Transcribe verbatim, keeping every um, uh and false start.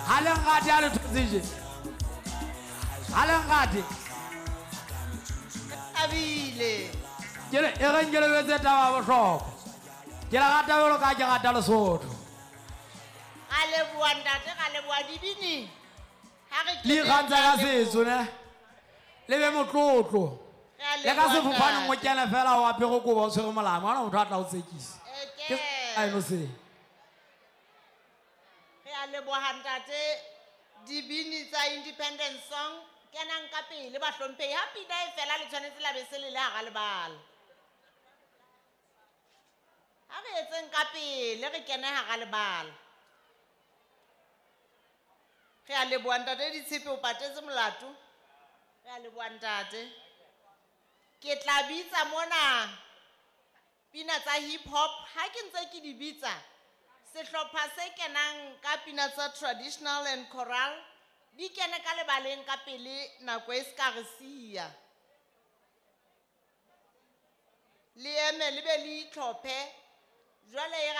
Ha le nrate ha le thotse je. Ha le nrate. Thabile. Ke le e reng ke le jwetse taba ya bohlokwa. Ke le rata jwalo ka ha ke rata Lesotho. Ra leboha ntate, ra leboha dibini. Ha re Le ikgantsha ka setso ne. Le be motlotlo. Re a Le ka leboha sefofaneng o ntate. kene fela o apere kobo o tshwere molamo, ha hona motho a tla o tsekisa. Ke Eke. aeno se. Re a leboha ntate, dibini tsa Independence Song kenang ka pele bahlomphehi. Ha pina e fela le tshwanetse la be se le le hara lebala. Ha re etseng ka pele re kene hara lebala. Re a leboha ntate Ditshepe, o patetse molato. Re a leboha ntate. Ke tla bitsa mona pina tsa hip hop. Ha ke ntse ke di bitsa, sehlopha se kenang ka pina tsa traditional and choral di kene ka lebaleng ka pele nako e se ka re siya. Le eme le be le itlhophe. Jwale e